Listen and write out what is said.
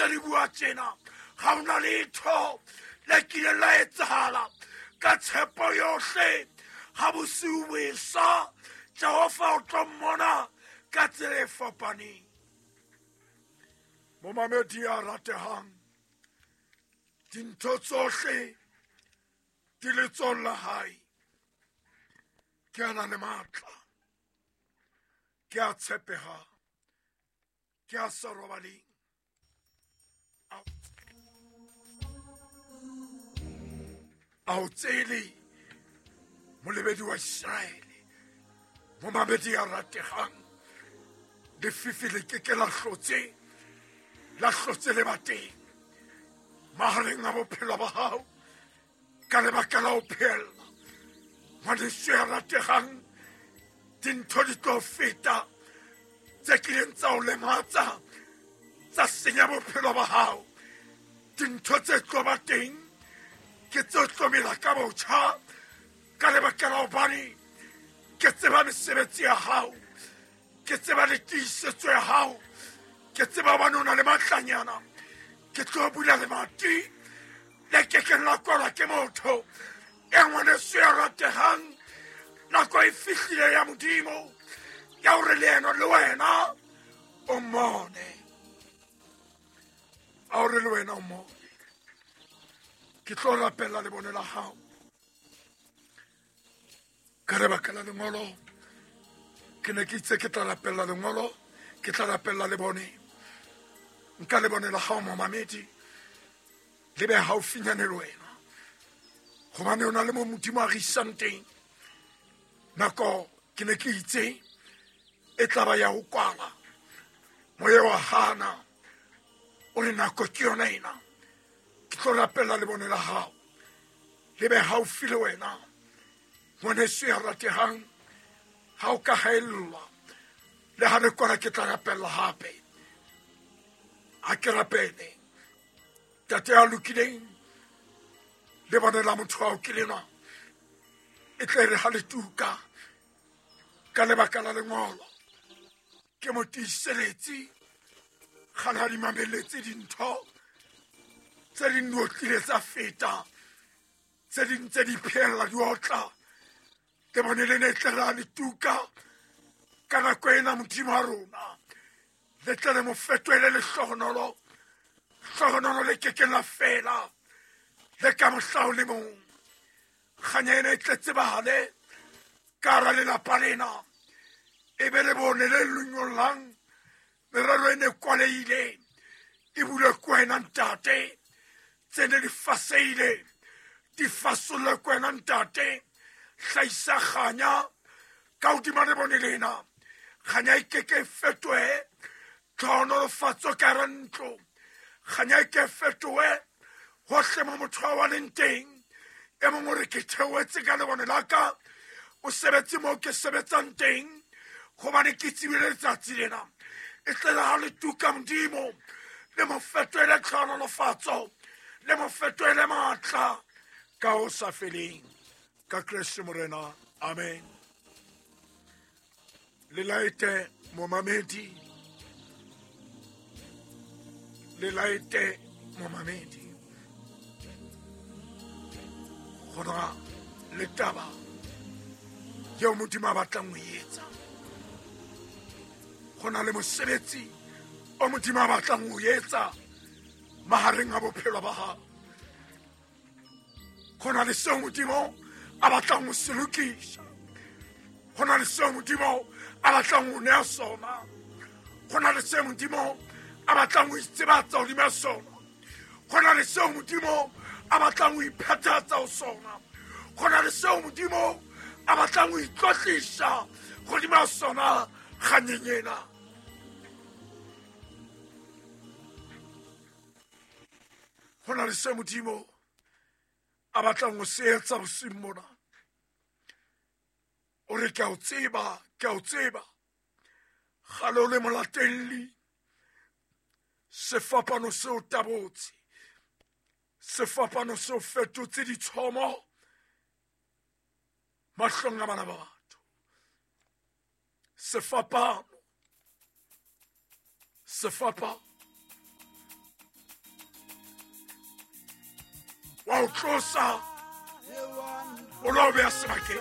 ntse re bua tjena ga ona letho le kileng la etsahala ka tshepo yohle ga bosiu bo esa Jehova o tlo mmona ka tsela e fapaneng. Momamedi ya ratehang, dintho tsohle di letsohong la hae. Ke a na le matla, ke a tshepeha, ke a sa robaleng. A o tsele molebedi wa Iseraele, momamedi ya rategang, lefifi le ke ke la hlotse la hlotse le ba teng mahareng a bophelo ba gago ka lebaka la ho phela. Ngwaneso ya rategang, dintho di tlo feta tse kileng tsa o lematsa, tsa senya bophelo ba gago. Dintho tse tlo ba teng ke tse tlo mela ka botjha ka lebaka la hobane ke tseba mesebetsi ya gago, ke tseba le tiisetso ya gago, ke tseba hobane o na le matlanyana. Ke tlo bula lemati le ke ke la kwalwa ke motho. E ngwaneso ya rategang, nako e fihlile ya Modimo ya hore le ena le wena o mmone, a hore le wena o mmone. Ke tlo rapella lebone la gago ka lebaka la lengolo. Ke ne ke itse ke tla rapella lengolo, ke tla rapella lebone. Nka lebone la gago momamedi le be haufinyane le wena, gobane o na le mo Modimo a re isang teng. Nako ke ne ke itse e tla ba ya ho kwala, moya wa hana o re nako ke yona ena. Ke tlo rapella lebone la gago le be haufi le wena. Ngwaneso ya rategang, ga o ka haellwa le ga re kwala, ke tla rapella gape. A ke rapele. Tate ya lokileng, lebone la motho ao ke lenwa e tle re ga le tuka ka lebaka la lengolo, ke mo tiiseletse ga le ga di mameletse dintho tse ding di otlile tsa feta, tse ding tse di phela di otla. Lebone le ne tle ra le tuka ka nako ena, Modimo wa rona le tle le mo fetoele lehlohonolo, hlohonolo le kekeng la fela le ka mohla o le mong. Kganya ena e tle tsebahale ka hara lelapa lena, e be le bone le lunyollang merero e ne kwalehile e bulwe ke wena Ntate, tse ne di faseile di fasollwe ke wena Ntate. Hlahisa kganya ka hodima lebone lena, kganya e keke e fetohe tlhohonolofatso ka hara ntlo, kganya e ke e fetohe hohle mo motho a wa leng teng. E mong o re ke theohetse ka lebone la ka mosebetsi mo ke sebetsang teng, gobane ke tsebile letsatsi lena e tlela ga le tuka Modimo le mo fetoele tlhohonolofatso, le mo fetoele maatla ka ho sa feleng ka Kreste Morena. Amen. Le laete momamedi, le laete momamedi, gona le taba yeo Modimo a batlang ho e etsa. Go na le mosebetsi o Modimo a batlang ho etsa mahareng a bophelo ba gago. Go na le seo Modimo a batlang ho se lokisa, go na le seo Modimo a batlang ho nea sona, go na le seo Modimo a batlang ho itsebatsa hodima sona, go na le seo Modimo a batlang ho iphethatsa ho sona, go na le seo Modimo a batlang ho itlotlisa godima sona kganyeng ena. Go na le se Modimo a batlang ho se etsa bosiung mona. O re ke a o tseba, ke a o tseba, gale o le molatelli, sefapano seo tabotse, sefapano seo fetotse ditshomo mahlong a bana ba batho. Sefapano, sefapano. Wa o tlosa, o lo beha sebakeng.